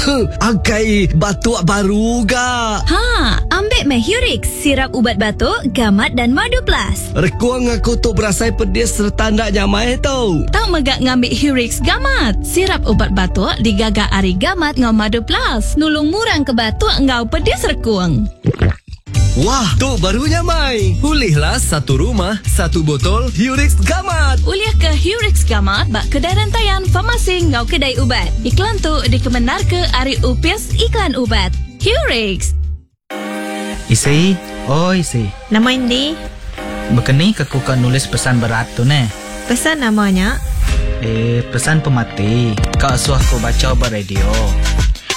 Angkai batuk baru ga. Ha, ambik meh Hurix, sirap ubat batuk, gamat dan madu plus. Rekung aku tu berasai pedis sereta enda nyamai tu. Tau mega ngambi Hurix Gamat, sirap ubat batuk digaga ari gamat enggau madu plus, nulung ngurangka batuk enggau pedis rekung. Wah, tu baru nyamai. Ulihlah satu rumah, satu botol Hurix Gamat. Ulih ke Hurix Gamat ba kedai rentayan, farmasi enggau kedai ubat. Iklan tu dikemendarka ari Opis Iklan Ubat. Hurix. Isi, oi isi. Nama indi? Baka ni ke ku ka nulis pesan berat tu neh? Pesan nama nya? Eh, pesan pemati ka asuh ku bacha ba radio.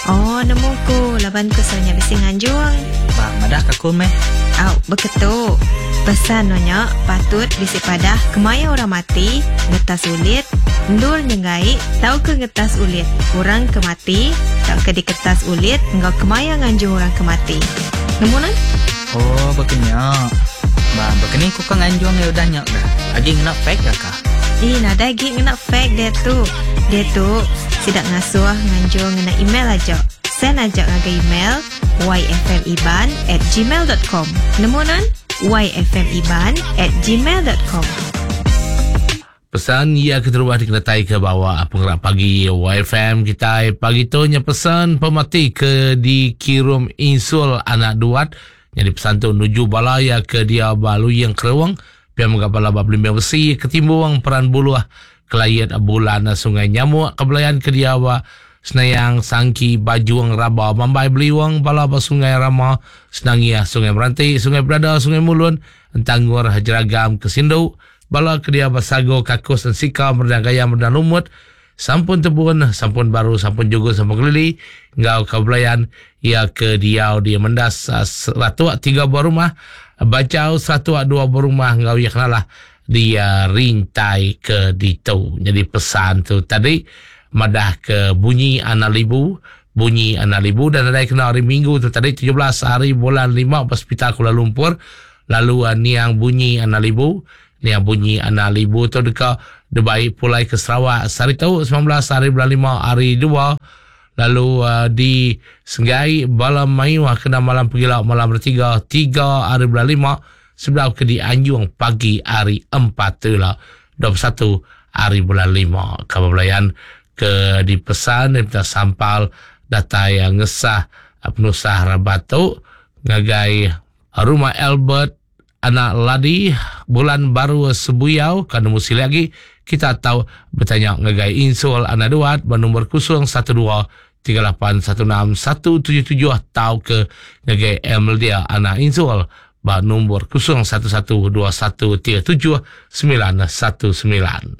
Oh, nemu ku laban ku selalu nya bisi nganjung. Ba, madah ka ku meh. Au, beketu. Pesan no nya patut bisi padah kemaya orang mati, ngetas ulit, endur nyenggai tauka ngetas ulit orang ke mati tauka diketas ulit enggau kemaya nganjung orang ke mati. Nemu nuan? Oh, baka nya. Ba, baka ni ku ka nganjung iya udah nya ga? Agi ngena fax ga ka? Ih, nadai agi ngena fax diatu. Diatu, sida ngasuh nganjung ngena email aja. Send aja ngagai email yfmiban at gmail dot com. Nemu nuan? yfmiban at gmail dot com. Pesan iya keterubah dikenataika bawa pengerak pagi YFM kitai pagi tu nya pesan pemati ke dikirum insul anak duat nyadi pesan tu nuju bala iya ke diau ba Luying Kerung pia mega bala ba Belimbing Besi Ketimbung Peran Buluh Kelayit Bulan Sungai Nyamuk ke belayan ke diau ba Senayang Sangki Bajung Raba Mambai Beliung bala ba Sungai Rama Senangiah Sungai Meranti Sungai Berada Sungai Mulun Entangur Jeragam Kesindu Bala ke diau ba Sago, Kakus, Ensika, Meredang Gaya, Meredang Lumut, Sampun Tebun, Sampun Baru, Sampun Jugun, Sampun Kelili enggau ka belayan iya ke diau di Mendas Seratuk tiga buah rumah, Bajau Seratuk dua buah rumah enggau iya kenalah di Rintai ke ditu. Nyadi pesan tu tadi madah ke bunyi anak libu, bunyi anak libu dan nadai kena hari Minggu tu tadi 17 hari bulan 5 ba Sepital Kuala Lumpur Lalu niang bunyi anak libu. Niang bunyi anak libu tu deka dibai pulai ke Sarawak sehari tu 19 hari bulan 5 hari 2 lalu di Senggai bala mayuh kena malam pegila malam hari 3 3 hari bulan 5 sebedau ke dianjung pagi hari 4 tu ila 21 hari bulan 5. Kaban belayan ke dipesan daripada sampal datai ngesah penusah rabat tu ngagai Rumah Albert anak Ladi bulan baru Sebuyau ka nemu silik agi kita tau betanya ngagai Insul anak Duat ba nombor 012 3816 177 tauka ngagai Emildia anak Insul ba nombor 011 2137 919.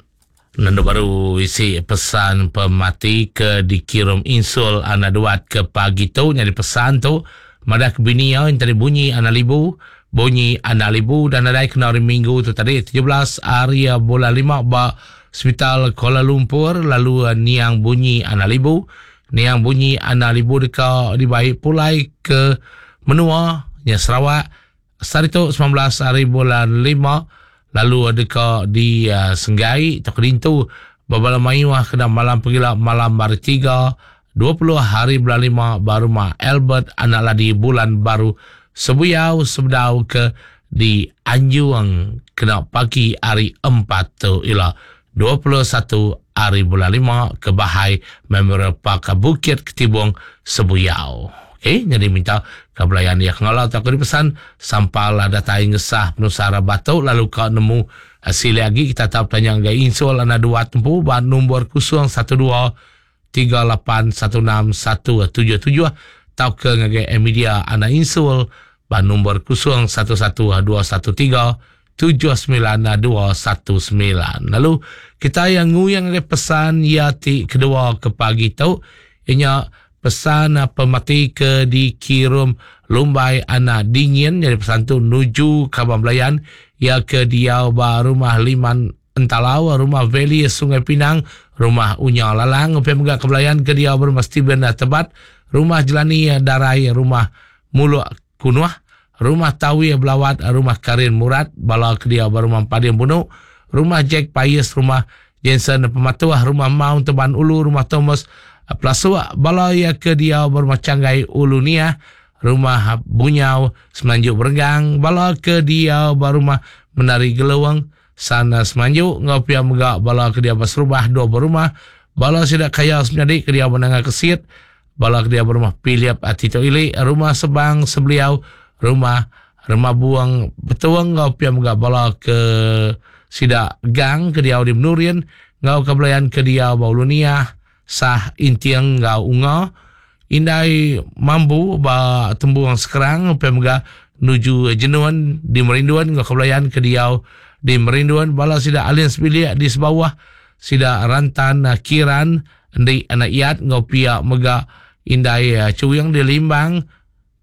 Nendu baru isi pesan pemati ke dikirum Insul anak Duat ke pagi tu nyadi pesan tu madah ke bini iya entari bunyi anak libu bunyi anak libu dan nadai kena hari minggu tu tadi 17 hari bulan 5 ba Sepital Kuala Lumpur lalu niang bunyi anak libu niang bunyi anak libu deka dibai pulai ke menua nya Sarawak Sehari tu 19 hari bulan 5 lalu deka di uh, Senggai atau Kedintu bebala mayuh kena malam pegila malam hari 3 20 hari bulan 5 ba rumah Albert Anak Ladi bulan baru Sebuyau sebedau ke di Anjung kena pagi hari 4 tu ila 21 hari bulan 5 ke Bahai Memorial Park Bukit Ketibung Sebuyau. Okey, jadi minta ke belayan dia kengalau tak aku dipesan sampal datai ngesah penusah rabat tu lalu ka nemu eh, silik agi kita tau bertanya ngagai insul anak dua tempu ba nombor 012 3816 177 tauka ngagai media anak insul ba nombor 011 213 79219. Lalu kita yang nguyang ngagai pesan iya ti kedua ke pagi tu inya pesan pemati ke dikirum Lumbai Anak Dingin jadi pesan tu nuju kaban belayan iya ke diau ba rumah Liman Entalau, Rumah Valley Sungai Pinang, Rumah Unya Lalang, pia mega ke belayan ke diau ba Rumah Steven Tebat, Rumah Jelani Darai, Rumah Muluk Kunuh, Rumah Tawi Belawat, Rumah Karin Murat, bala ke diau ba Rumah Empading Bunu, Rumah Jack Pais, Rumah Jensen Pematuh, Rumah Maung Teban Ulu, Rumah Thomas Pelasuk bala iya ke diau ba Rumah Changgai Ulu Niah, Rumah Bunyau Semenanjung Berenggang, bala ke diau ba Rumah Menari Gelung, San Semanju enggau pia mega bala ke diau ba Serubah Dua Berumah, bala sida Kaya Semenyadi ke diau ba Nanga Kesit, bala ke diau ba Rumah Philip Tito Ili, Rumah Sebang Sebeliau, Rumah Remabung Betong enggau pia mega bala ke sida Gang ke diau di Menurin enggau Kabelayan ke diau ba Ulu Niah, Sah Inting enggau Unga, Indai Mambu ba Tembung Sekerang pia mega nuju Jenun di Merindun enggau Kabelayan ke diau di Merindun bala sida Alin sebilik di Sebauh, sida Rantan Kiran endi anak Iyat enggau pia mega Indai Chuing di Limbang.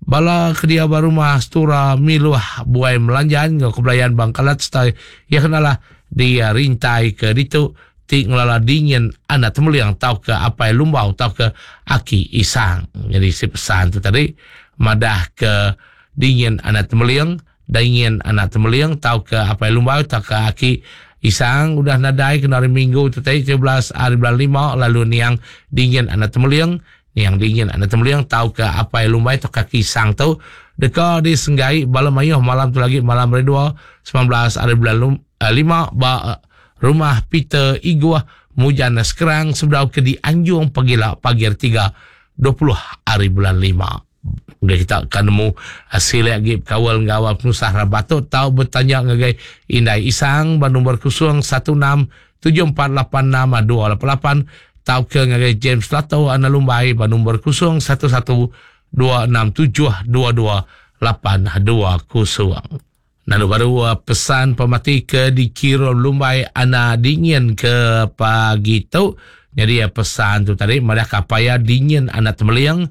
Bala ke diau ba rumah Stura Miluh Buai Melanjan enggau Kebelayan Bangkalat sereta iya ke nalah di rintai ke ditu ti ngelala dingin anak Temeling tauka Apai Lumbau tauka Aki Isang. Nyadi si pesan tu tadi madah ke dingin anak Temeling, dingin anak Temeling tauka Apai Lumbau tauka Aki Isang udah nadai kena hari Minggu tu tadi 17 hari bulan lima lalu niang dingin anak Temeling Niang dingin anak Tembeling tauka Apai Lumbai tauka Kisang tu deka disenggai bala mayuh malam tu lagi malam hari dua 19 hari bulan lima ba Rumah Peter Iguh Mujan Sekerang sebedau ke dianjung pagila pagi hari tiga 20 hari bulan lima. Udah kita ka nemu silik agi bekaul enggau penusah rabat tu tau betanya ngagai Indai Isang ba nombor 016 7486 288 tauka ngagai James Lato Anak Lumbai ba nombor 011 267 2282 0. Lalu baru pesan pemati ke dikirum Lumbai Anak Dingin ke pagi tu. Jadi pesan tu tadi madah ka paya dingin anak temeling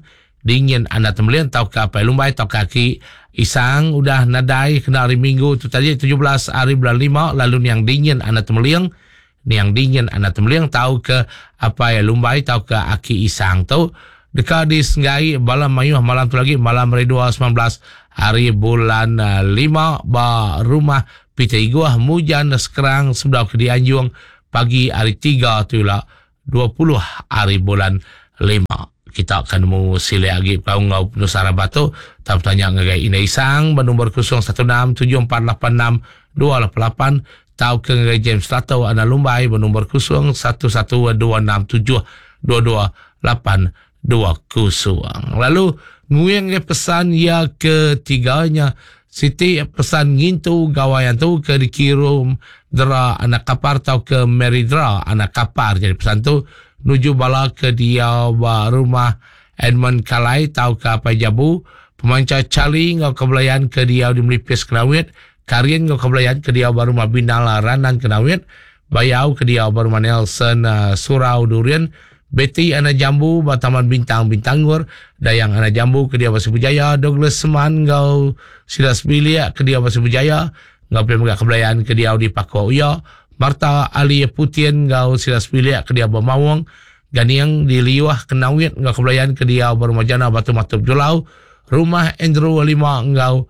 Dingin anak Tembeling tauka Apai Lumbai tauka Aki Isang udah nadai kena hari Minggu tu tadi 17 hari bulan lima lalu niang Dingin anak Tembeling niang Dingin anak Tembeling tauka Apai Lumbai tauka Aki Isang tu deka disenggai bala mayuh malam tu lagi malam hari dua 19 hari bulan lima ba rumah Peter Iguh Mujan Sekerang sebedau ke dianjung pagi hari tiga tu ila 20 hari bulan lima. Kita akan nemu silik agi bekaul enggau penusah rabat tu. Tau betanya ngagai Indai Isang ba nombor 016 7486 288 tauka ngagai James Lato Anak Lumbai ba nombor 011 267 22 820. Lalu nguing ngagai pesan iya ketiga nya siti pesan ngintu gawai antu ke dikirum Dera Anak Kapar tauka Mary Dera Anak Kapar. Jadi pesan tu nuju bala ke diau ba rumah Edmund Kalai tauka Apai Jabu, Pemancha Charlie enggau Kebelayan ke diau di Melipis Kenawit, Karin enggau Kebelayan ke diau ba rumah Binal Ranan Kenawit, Bayau ke diau ba rumah Nelson Surau Durian, Betty Anak Jambu ba Taman Bintang Bintangor, Dayang Anak Jambu ke diau ba Sibu Jaya, Douglas Seman enggau sida sebilik ke diau ba Sibu Jaya, enggau pia mega Kebelayan ke diau di Pakoh Uya, Martha Ali Putin enggau sida sebilik ke diau ba Maung, Ganing di Liuh Kenawit enggau Kebelayan ke diau ba Rumah Jana Batu Matup Julau, Rumah Andrew Lima enggau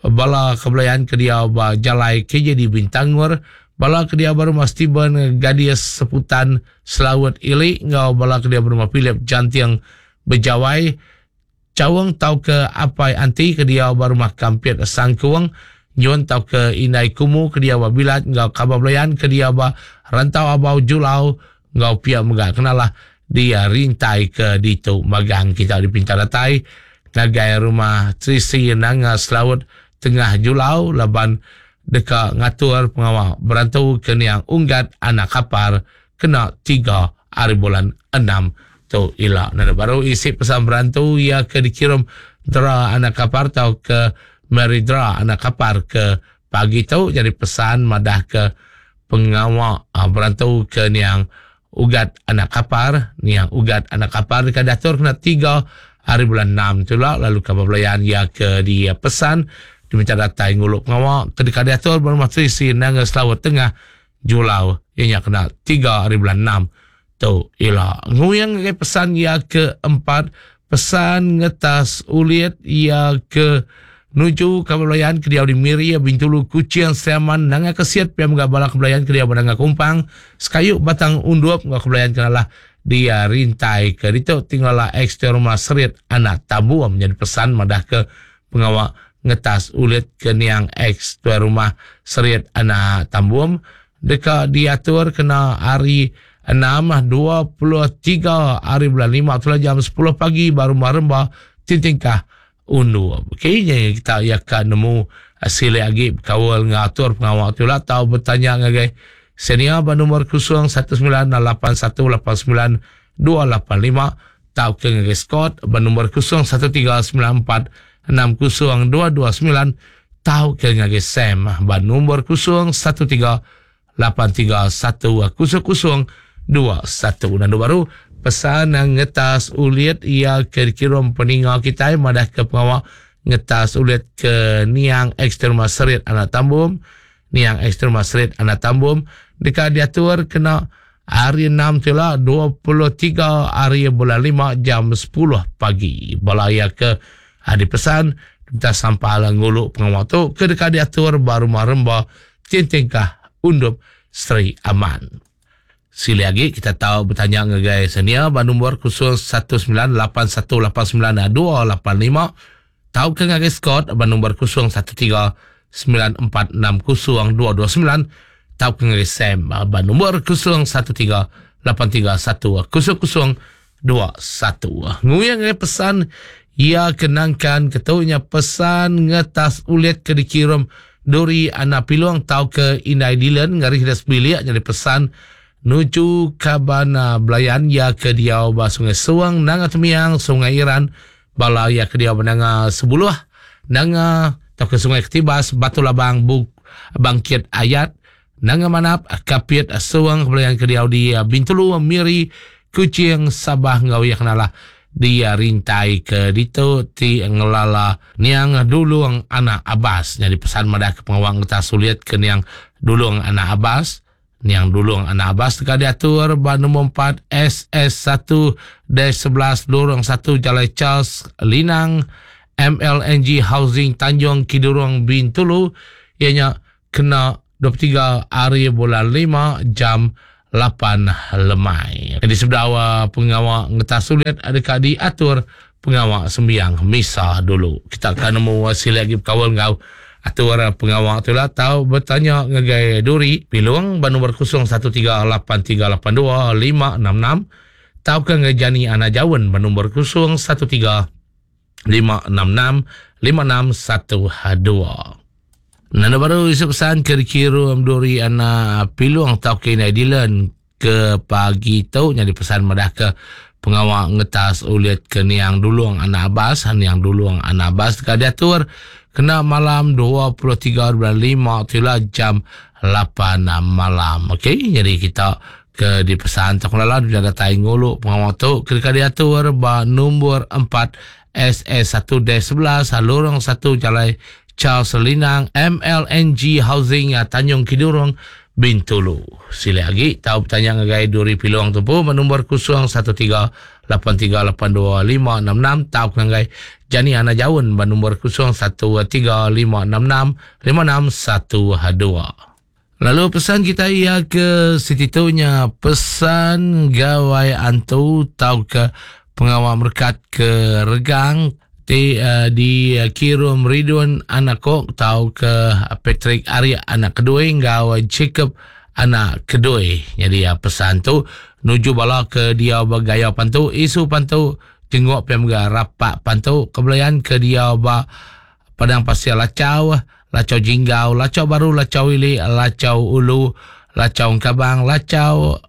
Bala kebelayan ke diau ba Jalai KJD Bintangor, bala ke diau ba Rumah Steven Gadis Seputan Selaut Ili enggau bala ke diau ba Rumah Philip Janting Bejawai, Chaung tauka Apai Anti ke diau ba Rumah Kampit Sangkung, Nyun tauka Indai Kumu ke diau ba Bilat enggau Kaba Belayan ke diau ba Rantau Abau Julau enggau pia mega kenalah di rintai ke ditu magang kita dipinta datai ngagai rumah Trisi Nanga Selaut Tengah Julau laban deka ngatur pengawa berantu ke niang Unggat Anak Kapar kena tiga hari bulan enam tu ila. Nadai baru isi pesan berantu iya ke dikirum Dra Anak Kapar tauka Mary Dra Anak Kapar ke pagi tu jadi pesan madah ke pengawa berantu ke niang Ugat Anak Kapar, niang Ugat Anak Kapar deka diatur kena tiga hari bulan enam tu ila lalu kaban belayan iya ke dipesan diminta datai ngulu pengawa ke deka diatur ba Rumah Trisi Nanga Selaut Tengah Julau iya nya kena tiga hari bulan enam tu ila. Nguing ngagai pesan iya ke empat, pesan ngetas ulit iya ke nuju kaban belayan ke diau di Miri, Bintulu, Kuching, Sri Aman, Nanga Kesit pia mega bala kebelayan ke diau ba Nanga Kumpang, Sekayu Batang Undup enggau kebelayan ke nalah. Dia rintai ke ditu ti ngelala ex tuai rumah Serit anak Tambum nyadi pesan madahka pengawa ngetas ulit ke niang ex tuai rumah Serit anak Tambum deka diatur kena hari Enam, 23 hari bulan lima tu jam 10 pagi ba Rumah Remba Tintingkah Undup. Okey, nya kita iya ka nemu silik agi bekaul enggau atur pengawa tu ila tau betanya ngagai Senior ba nombor 0198189285 tauka ngagai Scott ba nombor 0139460229 tauka ngagai Sam ba nombor 0138310021. Nandu baru pesan ngetas ulit iya ke dikirum peninga kitai madahka pengawa ngetas ulit ke niang ex-terma Serit Anak Tambum Niang Ekstrim Masrit Anak Tambum deka diatur kena hari Enam tu ila 23 hari bulan 5 jam 10 pagi. Bala iya ke dipesan minta sampal ngulu pengawa tu ke deka diatur ba Rumah Remba Tintingkah Undup Sri Aman. Silih agi kita tau betanya ngagai senia ba nombor 0198189285 tauka ngagai Scott ba nombor 0139460229 tauka ngagai Sam ba nombor 0138310021. Nguyang ngagai pesan iya ke nangkan ketu nya pesan ngetas ulit ke dikirum Duri Anak Pilung tauka Indai Dylan ngari sida sebilik nyadi pesan nuju kaban belayan iya ke diau ba Sungai Suang, Nanga Temiang, Sungai Iran, Bala iya ke diau ba Nanga Sebuluh, Nanga tauka Sungai Ketibas, Batu Labang, Buk Bangkit Ayat, Nanga Manap, Kapit, Suang, bala iya ke diau di Bintulu, Miri, Kuching, Sabah enggau iya ke nalah di rintai ke ditu ti ngelala niang Dulung Anak Abas. Nyadi pesan madah ke pengawa ngetas sulit ke niang Dulung Anak Abas. Niang Dulung Anak Abas deka diatur ba nombor 4 SS1 dash 11 Lorong 1 Jalai Charles Linang MLNG Housing Tanjung Kidurong Bintulu iya nya kena 23 hari bulan 5 jam 8 lemai. Jadi sebedau pengawa ngetas sulit deka diatur pengawa sembiang misa dulu. Kita akan nemu silik agi bekaul enggau atur pengawa tu lah tau betanya ngagai Duri Pilung ba nombor 0138382566 tauka ngagai Jani Anak Jaun ba nombor 0135665612. Nanda baru isu pesan ke dikirum Duri Anak Pilung tauka Indai Dylan ke pagi tu nyadi pesan madah ke pengawa ngetas ulit ke niang Dulung Anak Abas, niang Dulung Anak Abas deka diatur kena malam 23 bulan 5 tu ila jam 8 malam. Okey, jadi kita ke dipesan tu kelala dia datai ngulu pengawa tu ke deka diatur ba nombor 4 SS1-11 Lorong 1 Jalai Charles Linang MLNG Housing Tanjung Kidurong Bintulu. Silih agi tau betanya ngagai Duri Pilong tu pun ba nombor 0138382566 tau ngagai Jani Ana Jaun ba nombor 0135665612. Lalu pesan kita iya ke siti tu nya pesan gawai antu tauka pengawa merekat ke regang ti uh, dikirum Ridun anak Kok tauka Patrick Ari anak kedui enggau Jacob anak kedui. Jadi uh, pesan tu nuju bala ke dia ba gaya pantu isu pantu jenguk pia mega rapak pantu kebelayan ke dia ba Padang Pasir Lachau, Lachau Jinggau, Lachau Baru, Lachau Ili, Lachau Ulu, Lachau Engkabang, Lachau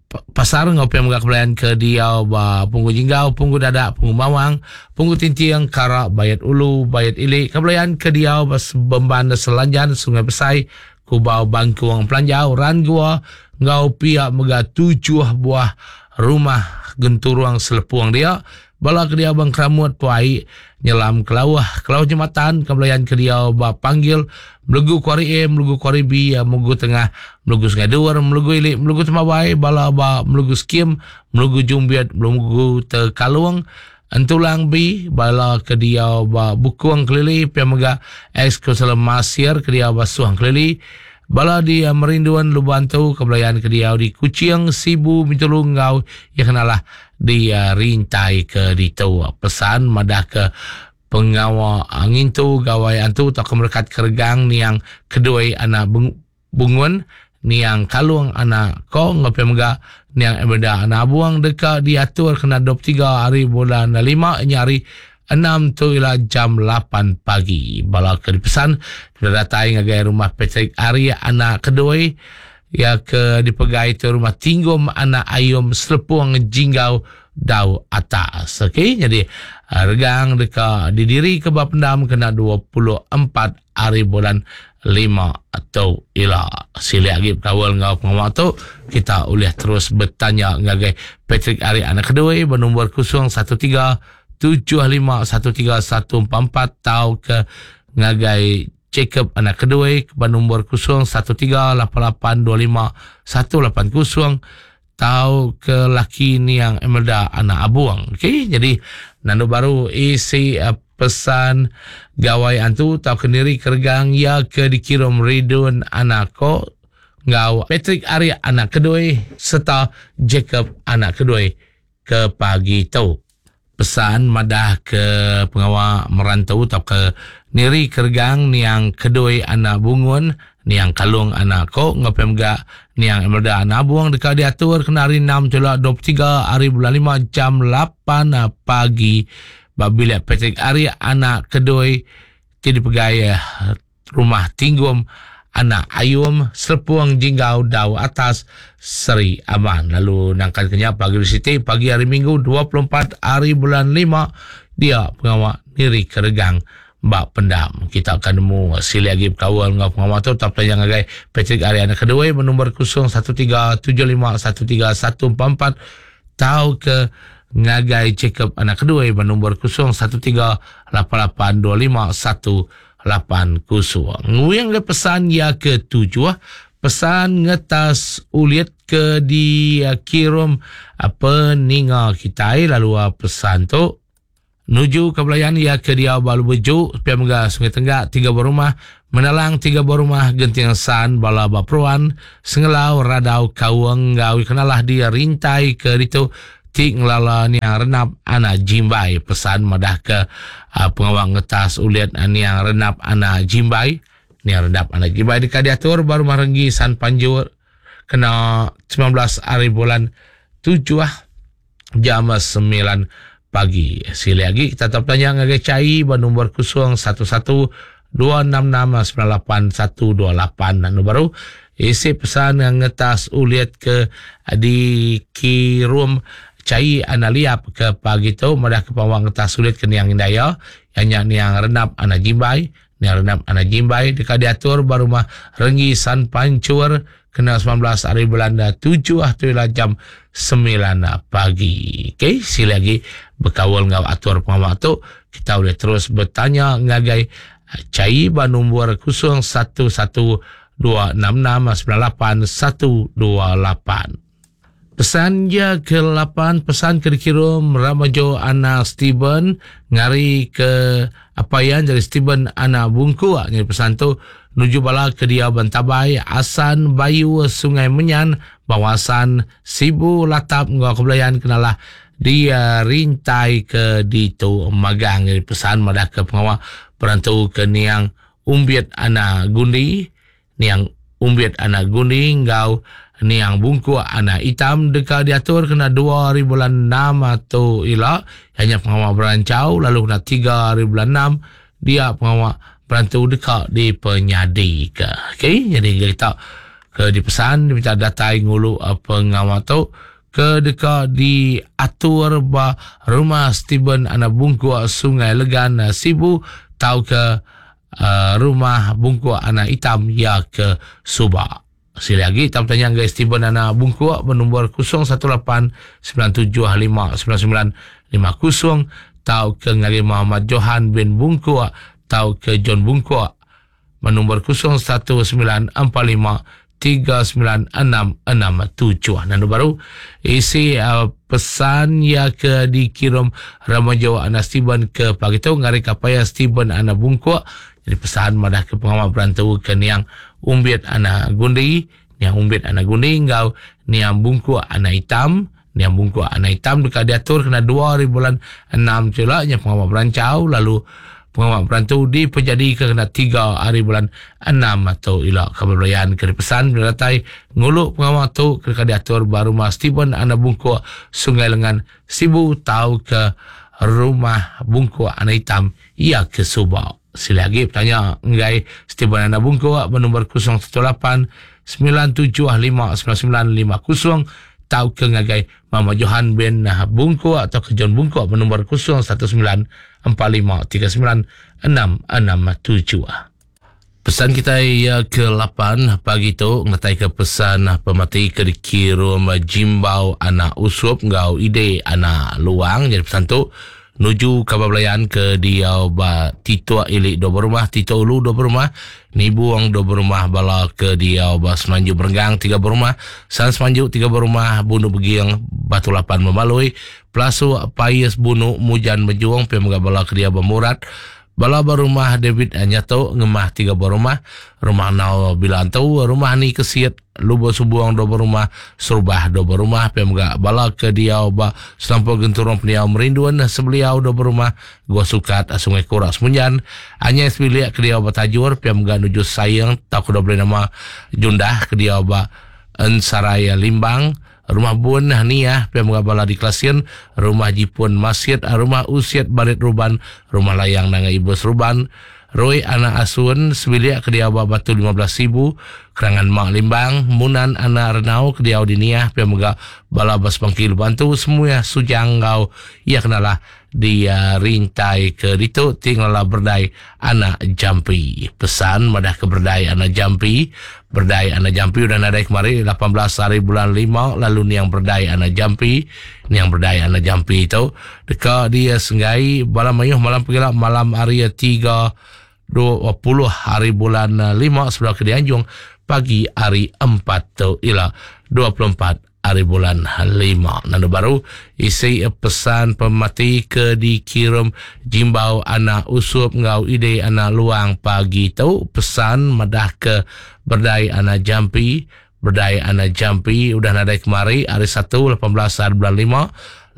Pasar enggau pia mega kebelayan ke diau ba Punggu Jinggau, Punggu Dadak, Punggu Mawang, Punggu Tinting, Kara, Bayat Ulu, Bayat Ili, kebelayan ke diau ba Bemban Selanjan, Sungai Besai, Kubau Bangkung Pelanjau, Ran Gua enggau pia mega tujuh buah rumah genturung selepung dia. Bala ke diau ba Engkeramut Puai, Nyelam Kelauh, Kelauh Jematan, Kebelayan ke diau ba Panggil, Melegu Kuari A, Melegu Kuari B, Melegu Tengah, Melegu Sungai Dur, Melegu Ili, Melegu Temawai, bala ba Melegu Skim, Melegu Jumbit, Melegu Tekalung, Entulang B, bala ke diau ba Bukung Kelili, pia mega ex-Kaunselor Masir ke diau ba Suang Kelili, Bala di Merinduan Luban tu ke belayan ke diau di Kuching, Sibu, Bintulu enggau iya kenalah di Rintai ke ditu. Pesan madah ke pengawa ngintu Gawai Antu tauka merekat ke regang niang kedui anak Bungun, niang Kalung anak Ko enggau pia mega niang Emerda anak Abung deka diatur kena 23 hari bulan lima nya hari Enam tu ila jam lapan pagi. Bala ke dipesan deka datai ngagai rumah Patrick Ari anak kedui iya ke dipegai tu rumah Tinggum anak Ayum Selepung Jinggau Dau Atas. Okey, nyadi regang deka didiri ke ba pendam kena 24 hari bulan lima tu ila. Silik agi bekaul enggau pengawa tu, kita ulih terus betanya ngagai Patrick Ari anak kedui ba nombor 013 7513144 tauka ngagai Jacob anak kedui ba nombor 0138825180 tauka laki niang Emelda anak Abung. Okey, jadi nandu baru isi eh, pesan gawai antu tauka niri keregang iya ke dikirum Ridun anak ko enggau Patrick Ari anak kedui serta Jacob anak kedui ke pagi tu. Pesan madah ke pengawa merantu tauka niri keregang niang Kedui anak Bungun, niang Kalung anak Kok enggau pia mega niang Emerda anak Abung deka diatur kena hari enam tula 23 hari bulan lima jam lapan pagi ba bilik Patrick Ari anak Kedui ti dipegai Rumah Tinggum, Anak Ayum, Selepung Jinggau Dau Atas, Seri Aman. Lalu nangkan ke nya pagi hari siti, pagi hari Minggu 24 hari bulan lima dia pengawa niri ke regang ba pendam. Kita akan nemu silik agi bekaul enggau pengawa tu tau betanya ngagai Patrick Ari Anak Kedui ba nombor 0137513144 tauka ngagai Jacob Anak Kedui ba nombor 01388251 lapan kusung. Nguing ke pesan iya ke tujuh, pesan ngetas ulit ke dikirum peninga kitai lalu pesan tu nuju ke belayan iya ke diau ba Lubu Ju, pia mega Sungai Tenggak tiga buah rumah, Menalang tiga buah rumah, Genting San, Bala ba Peruan, Sengelau, Radau, Kaung enggau Kenalah di Rintai ke ditu ti ngelala niang Renap anak Jimbai. Pesan madahka pengawa ngetas ulit niang Renap anak Jimbai. Niang Renap anak Jimbai deka diatur ba Rumah Renggi San Panjur kena 19 hari bulan tujuh jam 9 pagi. Silik agi kita tau betanya ngagai Chai ba nombor 011 266 98128. Anu baru isi pesan ngetas ulit ke dikirum Chai anak liap ke pagi tu madah ke pengawa ngetas ulit ke niang indai iya iya nya niang Renap anak Jimbai. Niang Renap anak Jimbai deka diatur ba rumah Renggi San Pancur kena 19 hari bulan tujuh tu ila jam 9 pagi. Okey, sila lagi bekaul enggau atur pengawa tu kita boleh terus betanya ngagai Chai ba nombor 011 266 98128. Pesan iya ke lapan pesan ke dikirum Ramajo anak Steven ngari ke apai iya jadi Steven anak Bungku nyadi pesan tu nuju bala ke diau Bentabai Asan Bayu Sungai Menyan Bawasan Sibu Latap enggau Kebelayan kenalah di rintai ke ditu magang nyadi pesan madah ke pengawa perantu ke niang Umbit anak Gundi Niang Umbit anak Gundi enggau Niang Bungkuk anak Itam deka diatur kena dua hari bulan enam tu ila iya nya pengawa beranchau lalu kena tiga hari bulan enam dia pengawa berantu deka dipenyadika. Okey nyadi kita ke dipesan diminta datai ngulu pengawa tu ke deka diatur ba Rumah Stephen anak Bungkuk Sungai Legan Sibu tauka Rumah Bungkuk Anak Itam iya ke suba. Sili agi tau betanya ngagai Stephen Anak Bungkuk benombor 018 975 9950 tauka ngagai Muhammad Johan bin Bungkuk tauka John Bungkuk benombor 019 45 3966 7. Nandu baru isi uh, pesan ya ke dikirim Ramajo anak Steven ke pagi tu ngari kapaya Steven anak Bungkuk jadi pesan madah ke pengawa berantu ke niang Umbit anak Gundi niang Umbit anak Gundi enggau niang Bungkuk anak Hitam niang Bungkuk anak Hitam deka diatur kena 2 hari bulan 6 tu ila nya pengawa berancau lalu Pengawa berantu dipejadika kena 3 hari bulan 6 tu ila. Kaban belayan ke dipesan bela datai ngulu pengawa tu ke deka diatur ba Rumah Stephen Anak Bungkuk, Sungai Lengan, Sibu tauka Rumah Bungkuk Anak Hitam iya ke suba. Silih agi betanya enggai Stephen Anak Bungkuk ba nombor 018 975 9950 tauka ngagai Mama Johan bin Bungkuk tauka John Bungkuk ba nombor 019 45 39 667. Pesan kitai iya ke 8 pagi tu ngenataika pesan pemati ke dikirum Jimbau anak Usup enggau Ide anak Luang. Jadi pesan tu nuju kaban belayan ke diau ba Tituk Ili dua berumah, Tituk Ulu dua berumah, Nibung dua berumah, bala ke diau ba Semanju Berenggang tiga berumah, San Semanju tiga berumah, Bundu Begieng, Batu Lapan Memalui, Pelasuk, Pais, Bunu, Mujan, Mejung, pia mega bala ke diau ba Murat, bala ba rumah David Nyato, Ngemah tiga buah rumah, Rumah Nau Bila Antu, Rumah Ani Kesit, Lubok Subong dua buah rumah, Serubah dua buah rumah, pia mega bala ke diau ba Selampur Genturung Pendiau Merindun, Sebeliau dua buah rumah, Gua Sukat, Sungai Kura Semunjan, Anyai sebilik ke diau ba Tajur, pia mega nuju Saing tauka dua beli nama Jundah ke diau ba Ensarai Limbang, Rumah Bun Niah pia mega bala di Kelasin, Rumah Jipun Masit, Rumah Usit Barit Ruban, Rumah Layang Nanga Ibus Ruban, Roi Anak Asun sebilik ke diau ba Batu 15 Sibu, Kerangan Mak Limbang, Munan Anak Renau ke diau di Niah pia mega bala ba Sebangki Lubang Antu Semuih Sujang enggau iya kenalah di rintai ke ditu ti ngelala berdai anak jampi. Pesan madah ke berdai anak jampi. Berdai anak jampi udah nadai kemari 18 hari bulan 5 lalu niang berdai anak jampi. Niang berdai anak jampi tu deka dia senggai bala mayuh malam pegila malam hari 3 20 hari bulan 5 sebedau ke dianjung pagi hari 4 tu ila 24 ari bulan lima. Nandu baru isi pesan pemati ke dikirum Jimbau anak Usup enggau Ide anak Luang pagi tu pesan madah ke berdai anak Jampi berdai anak Jampi udah nadai kemari hari Satu 18 hari bulan lima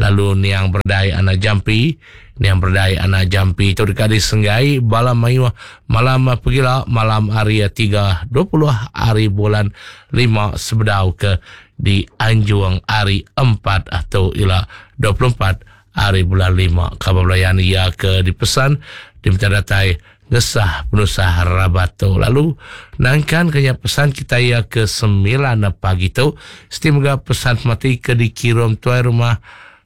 lalu niang berdai anak Jampi niang berdai anak Jampi tu deka disenggai bala mayuh malam pegila malam hari 3 20 hari bulan lima sebedau ke dianjung hari empat atau ila 24 hari bulan lima. Kaban belayan iya ke dipesan diminta datai ngesah penusah rabat tu. Lalu nangkan ke nya pesan kita iya ke sembilan pagi tu siti mega pesan pemati ke dikirum tuai rumah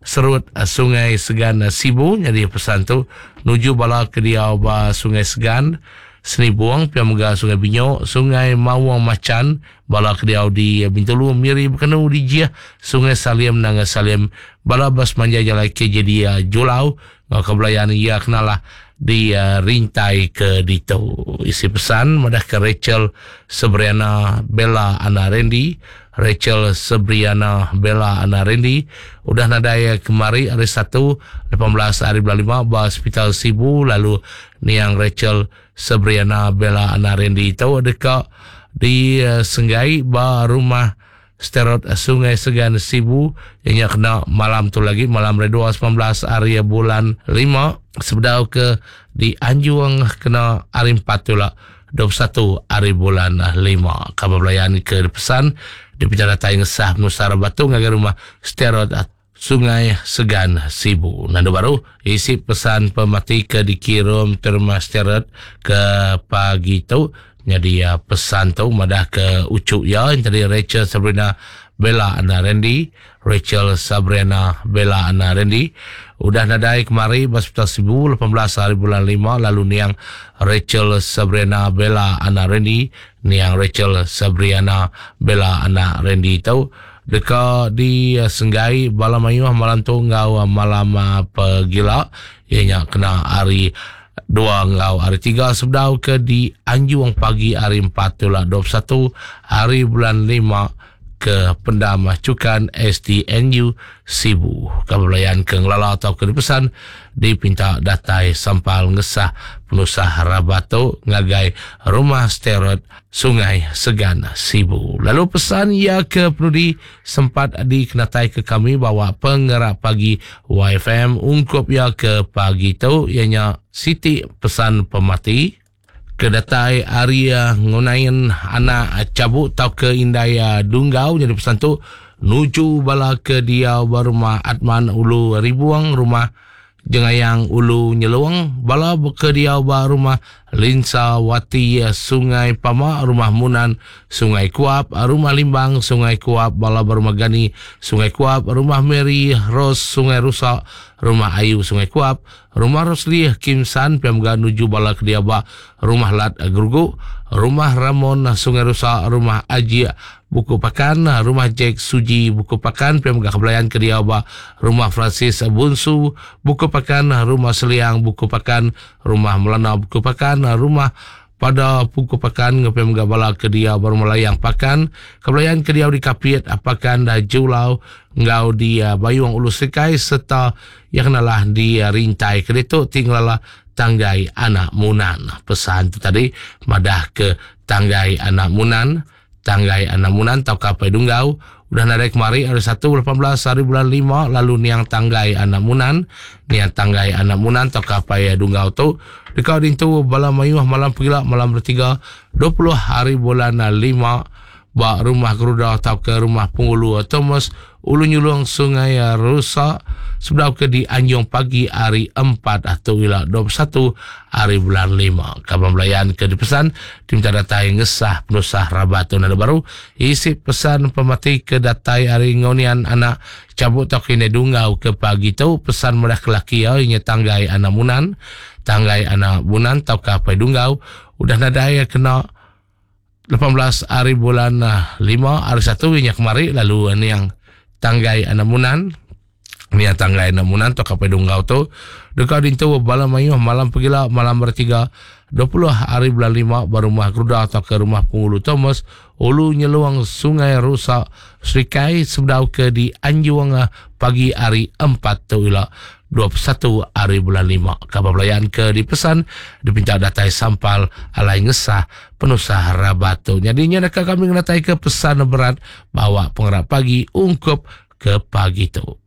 Serut Sungai Segan Sibu nyadi pesan tu nuju bala ke diau ba Sungai Segan Senibong pia mega Sungai Binyok, Sungai Mawong Machan, bala ke diau di Bintulu, Miri Bekenu di Jih, Sungai Salim Nanga Salim, bala ba semanjai jalai KJD Julau enggau ke belayan iya kenalah di rintai ke ditu. Isi pesan madahka Rachel Sebriana Bella Ana Randy, Rachel Sebriana Bella Ana Randy udah nadai kemari hari Satu 18 hari bulan lima ba Sepital Sibu lalu niang Rachel Sebriana Bella Ana Randy tu deka disenggai ba rumah Sterot Sungai Segan Sibu iya nya kena malam tu lagi malam hari dua 19 hari bulan lima sebedau ke dianjung kena hari empat tu lah 21 hari bulan lima. Kaban belayan ke dipesan dipinta datai ngesah penusah batu ngagai rumah Sterot Sungai Segan Sibu. Nandu baru isi pesan pemati ke dikirum terima Sterot ke pagi tu nyadi ya pesan tu madah ke ucu ya yang tadi Rachel Sabrina Bella Ana Randy Rachel Sabrina Bella Ana Randy udah nadai kemari ba Hospital Sibu 18 hari bulan 5 lalu niang Rachel Sabrina Bella Ana Randy niang Rachel Sabriana Bella Ana Randy tu deka disenggai bala mayuh malam tu enggau malam pegila iya nya kena hari. 2 enggau hari 3 sebedau ke di Anjung pagi hari 4 tulak 21 hari bulan 5 ke Pendam Cukan STNU Sibu. Kaban belayan ke ngelala atau ke dipesan dipinta datai sampal ngesah penusah rabat tu ngagai Rumah Sterot Sungai Segan Sibu. Lalu pesan ia ke penudi sempat dikenatai ke kami bawa pengerak pagi YFM ungkup ia ke pagi tu ianya siti pesan pemati ke datai ari ngunain anak cabuk tauka indai dunggau jadi pesan tu nuju bala ke diau ba rumah Atman Ulu Ribuang rumah Jengayang Ulu Nyelung bala ke diau ba rumah Linsa Wati Sungai Pama rumah Munan Sungai Kuap rumah Limbang Sungai Kuap bala ba rumah Gani Sungai Kuap rumah Mary Rose Sungai Rusa rumah Ayu Sungai Kuap Rumah Rosli Kim San pia mega nuju bala ke diau ba Rumah Lat Gerugu, Rumah Ramon Sungai Rusa, Rumah Ajik Buku Pakan, Rumah Jack Suji Buku Pakan pia mega kebelayan ke diau ba Rumah Francis Bunsu Buku Pakan, Rumah Seliang Buku Pakan, Rumah Melana Buku Pakan, Rumah Pada Puku Pakan enggau pia mega bala ke diau ba Rumah Layang Pakan, kebelayan ke diau di Kapit, Pakan Julau enggau di Bayung Ulu Serikai sereta Iya kenalah di rintai ke ditu ti ngelala Tanggai Anak Munan. Pesan tu tadi madah ke Tanggai Anak Munan, Tanggai Anak Munan tauka Apai Dunggau udah nadai kemari hari Satu 18 hari bulan lima lalu niang Tanggai Anak Munan, niang Tanggai Anak Munan tauka Apai Dunggau tu deka dintu bala mayuh malam pegila malam bertiga 20 hari bulan lima ba Rumah Geruda tauka Rumah Penghulu Thomas Ulu Nyulung Sungai Rusa sebedau ke di Anjung pagi hari 4 atau ila 21 hari bulan 5. Kaban belayan ke dipesan tim tak datai ngesah penusah rabat tu nada baru isi pesan pemati ke datai hari ngonian anak cabut tau kini dungau ke pagi tu pesan merah kelaki ya inya tanggai anak munan tanggai anak munan tau ke apai dunggau udah nadai kena 18 hari bulan 5 hari 1 inya kemari lalu niang tanggai anak munan niang tanggai anak munan tu kapai dunggau tu deka dintu bala mayuh malam pegila malam bertiga 20 hari bulan 5 ba rumah Geruda atau ke rumah Penghulu Thomas Ulu Nyeluang Sungai Rusa Serikai sebedau ke di Anjung pagi hari 4 tu ila 21 hari bulan 5. Kaban belayan ke dipesan dipinta datai sampal alai ngesah penusah rabat tu. Nyadi nya deka kami ngenatai ke pesan berat bawa pengerap pagi ungkup ke pagi tu.